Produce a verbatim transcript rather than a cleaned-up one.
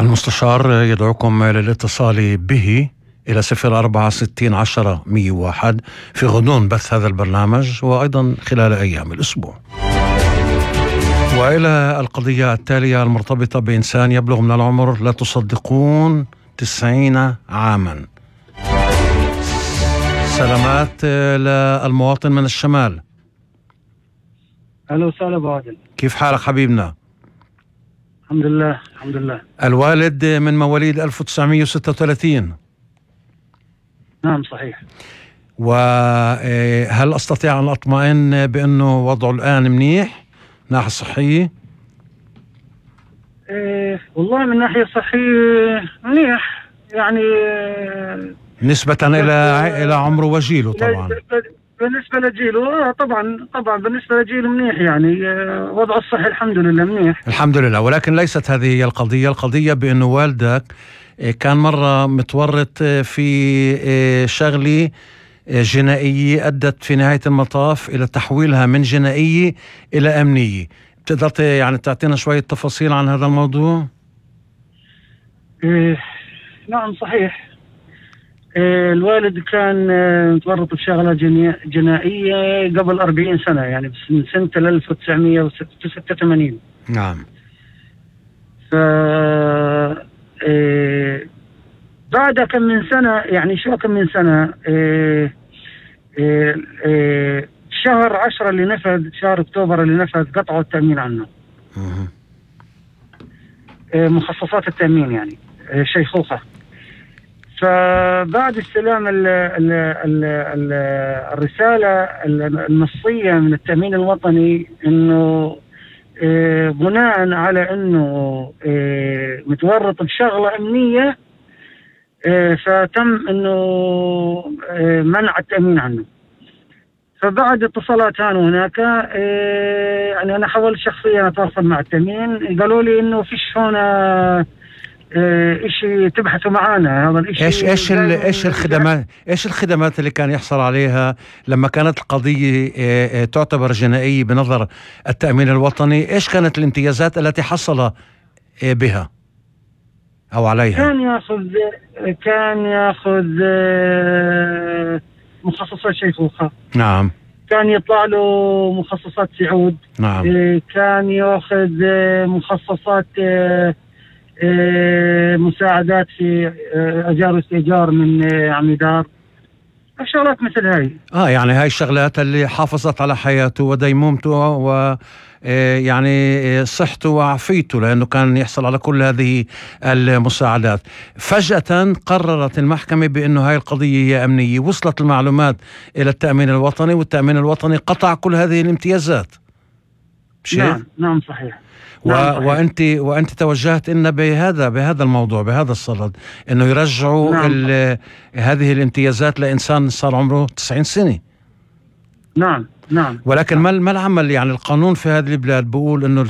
المستشار يدعوكم للاتصال به إلى صفر أربعة ستين عشرة مية وواحد في غضون بث هذا البرنامج وأيضا خلال أيام الأسبوع. وإلى القضية التالية المرتبطة بإنسان يبلغ من العمر لا تصدقون تسعين عاما. سلامات للمواطن من الشمال. أهلا وسهلا أبو عادل، كيف حالك حبيبنا؟ الحمد لله الحمد لله. الوالد من مواليد ألف وتسعمية وستة وثلاثين. نعم صحيح. وهل أستطيع أن أطمئن بأنه وضعه الآن منيح ناحية صحية؟ إيه والله من ناحية صحية منيح يعني نسبة إلى إلى عمره وجيله طبعا. بالنسبة لجيله طبعا طبعا بالنسبة لجيله منيح يعني وضعه الصحي الحمد لله منيح الحمد لله. ولكن ليست هذه هي القضية. القضية بأنه والدك كان مرة متورط في شغلة جنائية أدت في نهاية المطاف إلى تحويلها من جنائية إلى أمنية. بتقدر يعني تعطينا شوية تفاصيل عن هذا الموضوع؟ إيه نعم صحيح. إيه الوالد كان متورط بشغلة جنائية قبل أربعين سنة يعني من سنة ألف وتسعمية وستة وثمانين. نعم. ف إيه بعد كم من سنة يعني شو كم من سنة إيه إيه إيه شهر عشرة اللي نفذ شهر أكتوبر اللي نفذ قطعوا التأمين عنه. إيه مخصصات التأمين يعني إيه شيخوخة. فبعد استلام ال ال ال ال الرسالة النصية من التأمين الوطني إنه إيه بناء على إنه إيه متورط بشغلة أمنية إيه فتم إنه إيه منع التأمين عنه. فبعد اتصالات هان هناك إيه يعني أنا حاولت شخصيا أتواصل مع التأمين، قالوا لي إنه فيش هنا إيه إشي تبحثوا معانا. هذا الإشي إيش إيش إيش الخدمات إيش الخدمات اللي كان يحصل عليها لما كانت القضية إيه تعتبر جنائية بنظر التأمين الوطني؟ إيش كانت الامتيازات التي حصل إيه بها أو عليها؟ كان يأخذ كان يأخذ مخصصات شيخوخة. نعم. كان يطلع له مخصصات سعود. نعم. كان يأخذ مخصصات مساعدات في أجار واستئجار من عميدار، شغلات مثل هاي. آه يعني هاي الشغلات اللي حافظت على حياته وديمومته و يعني صحته وعافيته، لأنه كان يحصل على كل هذه المساعدات. فجأة قررت المحكمة بأنه هاي القضية هي أمنية. وصلت المعلومات إلى التأمين الوطني والتأمين الوطني قطع كل هذه الامتيازات. نعم نعم صحيح. و... نعم وأنت وأنت توجهت إن بهذا بهذا الموضوع بهذا الصدد إنه يرجعوا نعم. ال... هذه الامتيازات لإنسان صار عمره تسعين سنة. نعم نعم. ولكن نعم. ما ما العمل يعني القانون في هذه البلاد بيقول إنه